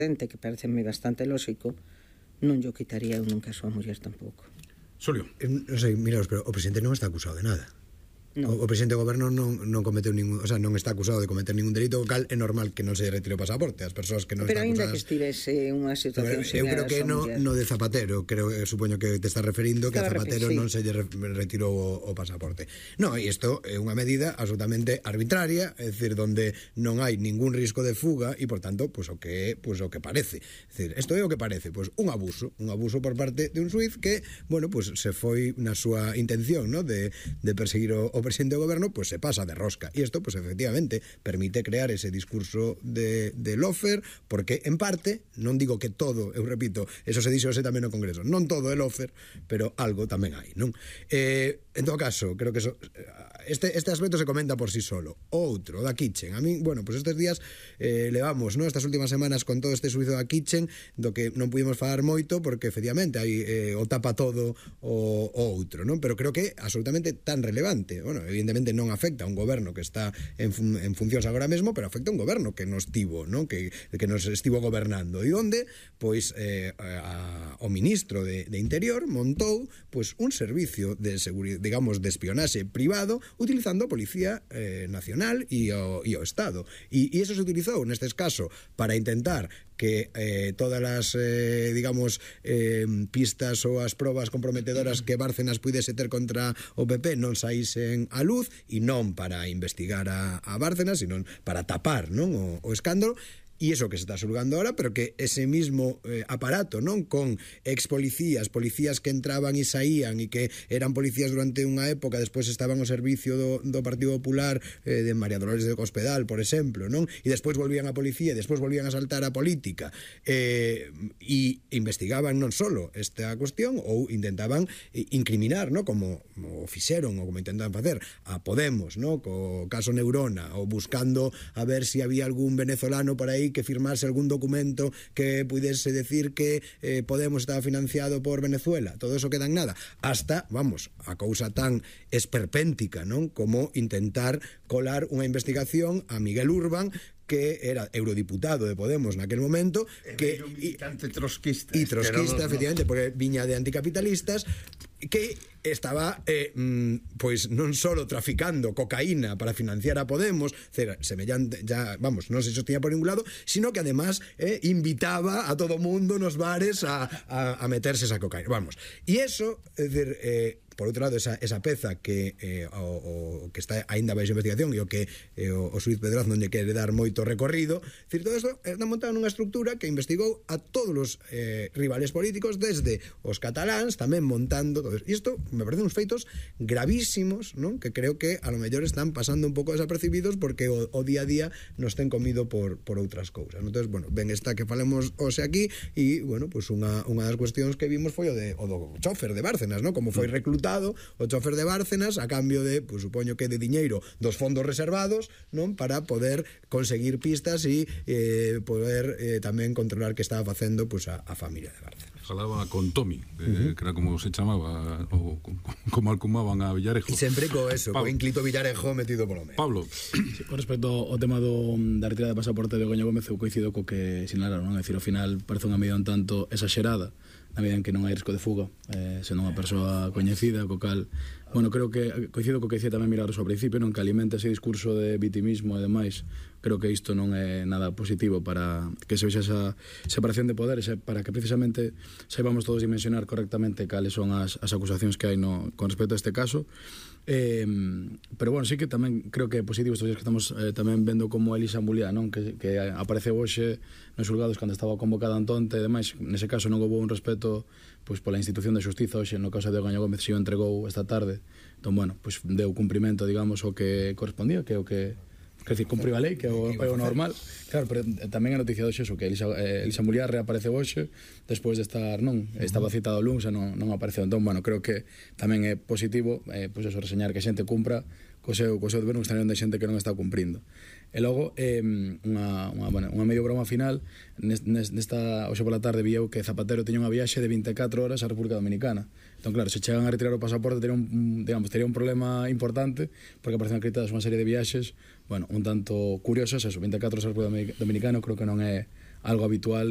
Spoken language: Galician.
que pareceme bastante lóxico, non yo quitaría eu nunca a súa muller tampouco. Xulio. Non sei, miraos, pero o presidente non está acusado de nada. No. O presidente do goberno non cometeu ningún, o sea, non está acusado de cometer ningún delito, o cal é normal que non se retire o pasaporte. As persoas que non pero están aínda acusadas. que estivese unha situación Eu creo que no de Zapatero, supoño que te estás referindo que a Zapatero sí. non se lle retirou o pasaporte. No, e isto é unha medida absolutamente arbitraria, é dicir, donde non hai ningún risco de fuga e, por tanto, o que parece. É dicir, isto é o que parece, un abuso por parte de un xuiz que, bueno, se foi na súa intención, ¿no?, de perseguir o presidente do goberno, se pasa de rosca. E isto, efectivamente, permite crear ese discurso de lofer, porque, en parte, non digo que todo, eu repito, eso se dixo tamén no Congreso, non todo é lofer, pero algo tamén hai, non? En todo caso, creo que este aspecto se comenta por sí solo. Outro, da Kitchen. A mí, bueno, estes días levamos, ¿no?, estas últimas semanas con todo este suizo da Kitchen, do que non pudimos falar moito, porque, efectivamente, hai o tapa todo o outro, non? Pero creo que é absolutamente tan relevante. Bueno, evidentemente non afecta a un goberno que está en funcións agora mesmo, pero afecta a un goberno que nos tivo, non? Que nos estivo gobernando. E onde, o ministro de Interior montou, un servicio de seguridade, digamos, de espionaxe privado, utilizando a Policía Nacional e o Estado. E eso se utilizou, nestes casos, para intentar que todas as, digamos, pistas ou as probas comprometedoras que Bárcenas puidese ter contra o PP non saísen á luz, e non para investigar a Bárcenas, sino para tapar, non, o escándalo. E iso que se está xulgando ahora, pero que ese mismo aparato, non, con policías que entraban e saían e que eran policías durante unha época, despois estaban ao servicio do Partido Popular, de María Dolores de Cospedal, por exemplo, non? E despois volvían a policía, e despois volvían a saltar a política, e investigaban non solo esta cuestión, ou intentaban incriminar, non, como fixeron, ou como intentan facer a Podemos, non, co caso Neurona, ou buscando a ver se había algún venezolano por aí que firmase algún documento que puidese decir que Podemos estaba financiado por Venezuela. Todo eso queda en nada. Hasta, a cousa tan esperpéntica, non, como intentar colar unha investigación a Miguel Urbán, que era eurodiputado de Podemos naquel momento, que militante trotskista, efectivamente, porque viña de anticapitalistas, que estaba non solo traficando cocaína para financiar a Podemos, semellante, ya, non se sostenía por ningún lado, sino que además invitaba a todo mundo nos bares a meterse esa cocaína. E eso, é dicir, por outro lado, esa peza que o que está aínda baixo investigación e o que o xuiz Pedraz non lle quere dar moito recorrido, dicir, todo isto está montado nunha estructura que investigou a todos os rivales políticos, desde os cataláns, tamén montando todo isto. E isto me parecen uns feitos gravísimos, non? Que creo que a lo mellor están pasando un pouco desapercibidos porque o día a día nos ten comido por outras cousas. Entón, ben está que falemos hoxe aquí e, unha das cuestións que vimos foi o do chofer de Bárcenas, non? Como foi reclutado o chofer de Bárcenas a cambio de, supoño que de diñeiro dos fondos reservados, non? Para poder conseguir pistas e poder tamén controlar que estaba facendo a familia de Bárcenas. Falaba con Tomi, que era como se chamaba, ou como alcumaban a Villarejo. E sempre co eso, co ínclito Villarejo metido polo medio. Pablo. Sí, con respecto ao tema da retirada de pasaporte de Begoña Gómez, eu coincido co que sinalaron, non? É dicir, ao final parece unha medida un tanto exagerada, na medida en que non hai risco de fuga, sendo unha persoa coñecida, co cal, creo que coincido co que dicía tamén Milagros ao principio, non, que alimenta ese discurso de vitimismo e demais. Creo que isto non é nada positivo para que se vexa esa separación de poderes, para que precisamente saibamos todos dimensionar correctamente cales son as acusacións que hai con respecto a este caso. Pero sí que tamén creo que é positivo estes días que estamos tamén vendo como Elisa Muliá, non? Que apareceu hoxe nos xulgados cando estaba convocada Antonte e demais. Nese caso non houve un respeto pola institución de xustiza. Hoxe no caso de Begoña Gómez se o entregou esta tarde, entón deu cumprimento, digamos, o que correspondía, que é o que cumpriu a lei, que é o normal. Claro, pero tamén a noticia hoxe que Elisa Muliá reapareceu hoxe despois de estar, estaba citado o luns e non apareceu. Entón, creo que tamén é positivo reseñar que a xente cumpra co seu deber, non está onde xente que non está cumprindo. E logo, unha medio broma final, hoxe pola tarde vi eu que Zapatero tiña unha viaxe de 24 horas á República Dominicana. Entón, claro, se chegan a retirar o pasaporte tería un problema importante, porque aparecen acreditadas unha serie de viaxes un tanto curiosas. Eso, 24 horas á República Dominicana, creo que non é algo habitual